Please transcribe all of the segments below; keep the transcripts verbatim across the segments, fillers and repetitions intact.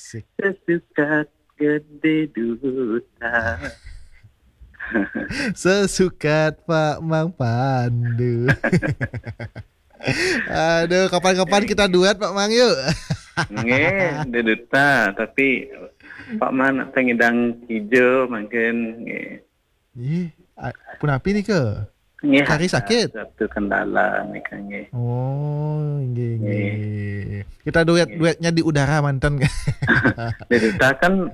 Sesukat gedé duta. Sesukat Pak Mang Pandu. Aduh, kapan-kapan kita duet, Pak Mang, yuk. Nggih, Dé Duta, tapi Pak Mang nak tangidang ijo mangkin nggih. Ih, a- punapi nih ke? Nggih, Kari ada sakit? Satu kendala nih kan nggih. Oh, nggih, nggih. Nggih. Kita duet-duetnya di udara manten. Dé Duta kan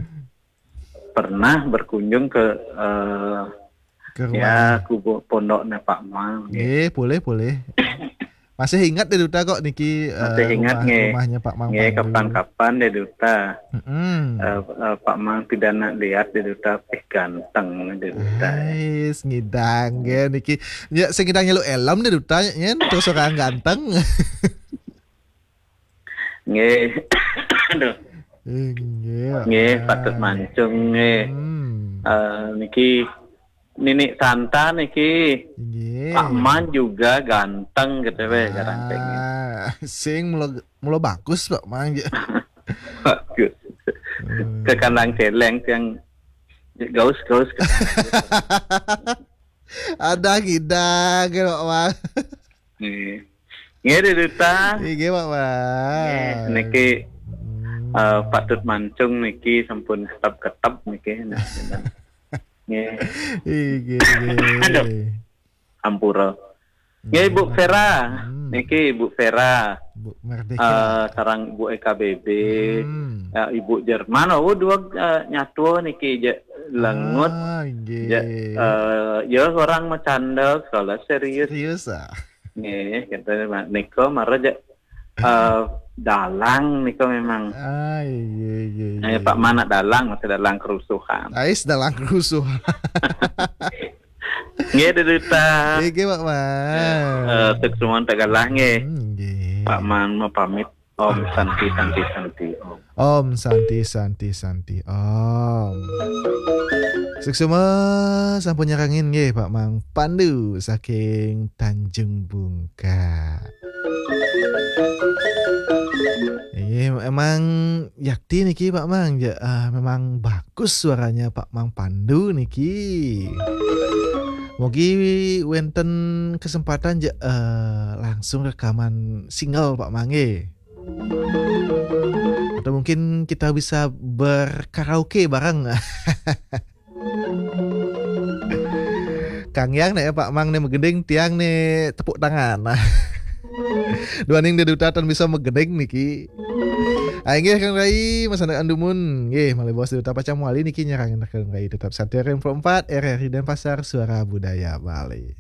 pernah berkunjung ke eh, Ke ya rumah. Kubu pondoknya Pak Mang. Nggih, boleh, boleh. Masih ingat Dé Duta kok niki. Masih eh, ingat rumah, nggih. Rumahnya Pak Mang Nggih, Pandu. Kapan-kapan Dé Duta. Mm-mm. Eh, eh, Pak Mang tidak nak lihat Dé Duta, eh ganteng Dé Duta. Ais, ngidang nggih niki. Ya, sing ngidang nyeluk elem Dé Duta nyen terus orang ganteng. Nggih. Aduh. Nggih, Pak Mang. Nggih, patut mancung nggih. Hmm. Eh, niki Nini Santa niki. Nggih. Pak Man juga ganteng gitu weh, garanteng. Ah, sing mula, mula bagus Pak Man. Bagus. Hmm. Ke kandang celeng yang gaus-gaus. Ada gidang ke Pak Man. Nggih. Nggih, Dé Duta. Nggih, Pak Man. Nggih, niki Hmm. eh, patut mancung niki sampun ketep-ketep niki. Nah, nggih. Nggih, nggih. Aduh. Ampura. Nggih, Bu Vera. Hmm. Niki Bu Vera. Bu Merdeka. Eh, sareng Bu E K B B. Hmm. Eh, Ibu Jerman, oh dua eh, nyatua niki je lengut. Ah, nggih. Je, eh, ya orang macanda, kalau serius. Serius ah. Nggih, kata nika mara je eh, dalang nika memang. Ah, iya, iya, iya. Eh, Pak Man nak dalang, masih dalang kerusuhan. Ais dalang kerusuhan. Nggih, Dé Duta. Nggih, Pak Man. Eh, eh, sukses mawon tak galah nggih. Hmm, nggih. Pak Man mau pamit. Om Santi, Santi, Santi, Om. Om Santi, Santi, Santi, Om. Suksma sampun nyarengin nggih Pak Mang Pandu saking Tanjung Bungka. Nggih, emang yakti niki Pak Mang, ja, ah, memang bagus suaranya Pak Mang Pandu niki. Mugi wenten kesempatan ja, eh, langsung rekaman single Pak Mang nggih. Atau mungkin kita bisa berkaraoke bareng. Kang Yang nih ya Pak Mang nih megending tiang nih tepuk tangan. Duaning Dé Duta tan bisa megending niki. Inggih Kang Rai, Mas Anak Andumun. Nggih, malih baos Dé Duta pacang mawali niki nyarengin Kang Rai tetap santai R M empat R R I Denpasar, Suara Budaya Bali.